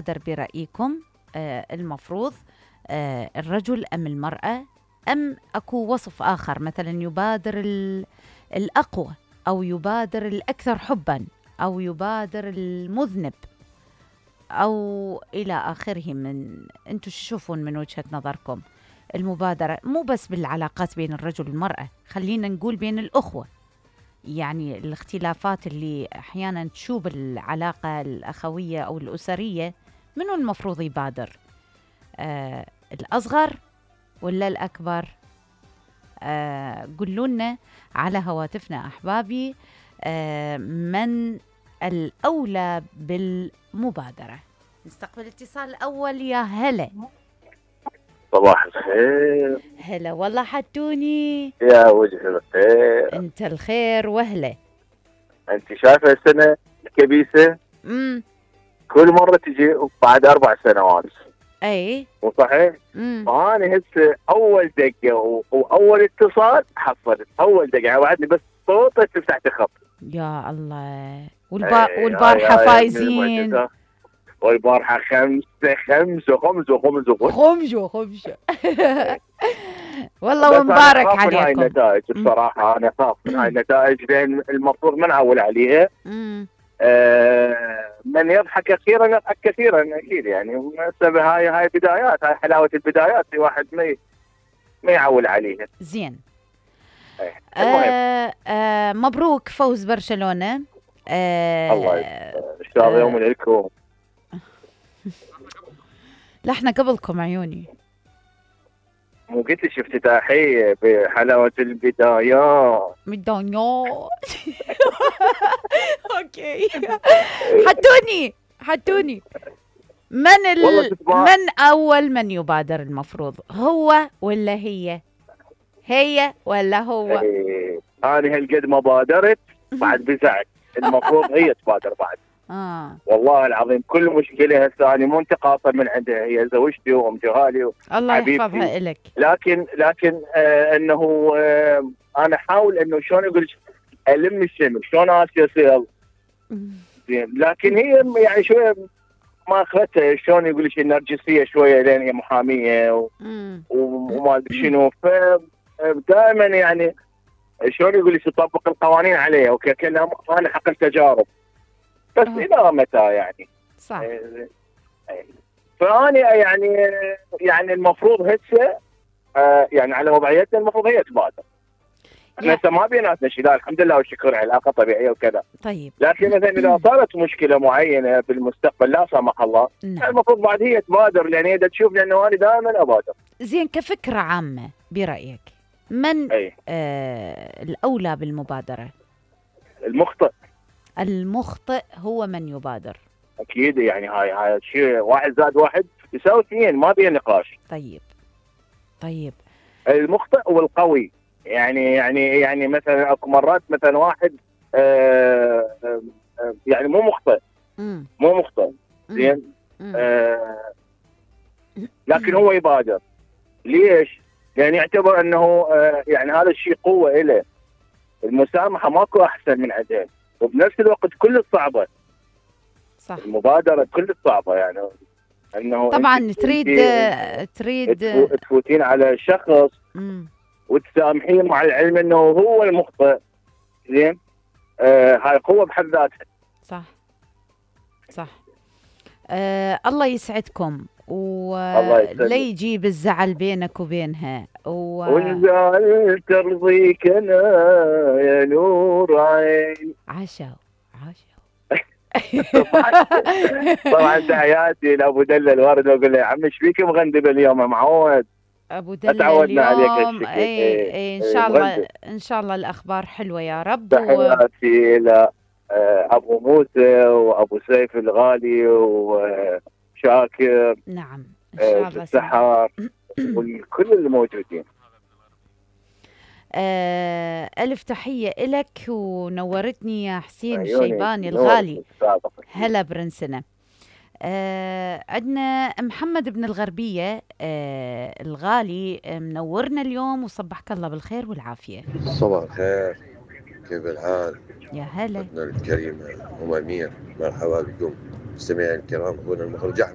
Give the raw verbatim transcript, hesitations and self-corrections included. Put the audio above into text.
يبادر برأيكم آه المفروض آه الرجل أم المرأة، أم أكو وصف آخر مثلا يبادر الأقوى أو يبادر الأكثر حبا أو يبادر المذنب أو إلى آخره؟ من أنتم تشوفون من وجهة نظركم المبادرة مو بس بالعلاقات بين الرجل والمرأة، خلينا نقول بين الأخوة، يعني الاختلافات اللي أحيانا تشوب العلاقة الأخوية أو الأسرية، منو المفروض يبادر؟ آه الأصغر ولا الأكبر؟ آه قولوا لنا على هواتفنا أحبابي آه من الأولى بالمبادرة. نستقبل الاتصال الأول. يا هلا. صباح الخير. هلا والله حتوني. يا وجه الخير. انت الخير وهلا. انت شايفه السنه الكبيسه؟ امم كل مره تجي بعد اربع سنوات. اي مو صحيح؟ فانا هسه اول دقه و... واول اتصال حصلت اول دقه، يعني بعدني بس صوتك تفتح الخط. يا الله. والبا... والبارحه فايزين، والبارحه خمسه خمسه خمسه خمسه خمسه خمسه والله ومبارك عليكم. من هاي النتائج بصراحه، انا اخاف من هاي النتائج لان المفروض ما نعول عليها. آه من يضحك اخيرا يضحك كثيرا اكيد، يعني سبب هاي هاي بدايات، هاي حلاوه البدايات، الواحد ما ما يعول عليها. زين. آه آه مبروك فوز برشلونه. آه الله يسلمك ان شاء الله. يوم لكم. لا احنا قبلكم عيوني. مو قلت لك افتتاحيه بحلاوه البدايات. بدايات اوكي. حتوني حتوني من ال... من اول من يبادر المفروض، هو ولا هي؟ هي ولا هو؟ ايه. انا هالقد ما بادرت بعد بزعت، المفروض هي تبادر بعد. آه. والله العظيم كل مشكله هسه انا مو انتقاصا من عندها، هي زوجتي وام جهالي الله يحفظها لك. لكن لكن آه انه آه انا احاول انه شلون اقول الم الشمل، شلون اسي اصير زين، لكن هي يعني شويه ما اخذتها، شلون يقول لك النرجسيه شويه، لان هي محاميه و... وما ادري شنو، فدائما يعني شلون يقول لك تطبق القوانين عليها وكأنها انا حق التجارب، بس أوه. الى متى يعني؟ صح. فاني يعني يعني المفروض هسه آه يعني على وضعيتنا المفروض هي تبادر. احنا هسه ما بيناتنا شيء، لا الحمد لله والشكر، علاقه طبيعيه وكذا. طيب. لكن مثلا اذا صارت مشكله معينه بالمستقبل لا سمح الله، نعم. المفروض بعد هي تبادر، لان هي تشوف، لانه انا دائما ابادر. زين، كفكره عامه برايك من أي. آه الاولى بالمبادره؟ المخطئ. المخطئ هو من يبادر. اكيد، يعني هاي هاي شيء، واحد زائد واحد يساوي اثنين، ما بين نقاش. طيب طيب. المخطئ والقوي، يعني يعني يعني مثلا اكو مرات مثلا واحد آه آه يعني مو مخطئ مم. مو مخطئ زين، آه لكن هو يبادر. ليش؟ لان يعتبر انه آه يعني هذا الشيء قوه له. المسامحه ماكو احسن من عندها، وبنفس الوقت كل صعبه. صح. المبادره كل صعبه، يعني انه طبعا تريد تريد تفوتين على شخص مم. وتسامحين مع العلم انه هو المخطئ، زين، آه هاي قوه بحد ذاتها. صح صح. آه الله يسعدكم ولا يجيب الزعل بينك وبينها و... والزعل ترضيك انا يا نور عين. عاشوا عاشوا. طبعا تحياتي لابو دلة الورد، واقول له يا عم ايش فيك مغندب اليوم يا معود؟ ابو دلة تعودنا عليك اليوم. اي اي, اي ان شاء الله مغندب. ان شاء الله الاخبار حلوه يا رب. تحياتي الى ابو موسى وابو سيف الغالي وشاكر. نعم ان شاء الله. السحار والكل الموجودين. آه ألف تحية إلك ونورتني يا حسين الشيباني الغالي. هلا برنسنا. آه عندنا محمد بن الغربية آه الغالي منورنا اليوم، وصبحك الله بالخير والعافية. صباح الخير، كيف الحال؟ يا هلا. أختنا الكريمة أم أمير، مرحبا بكم. مستمعينا الكرام، اخونا المخرج احمد.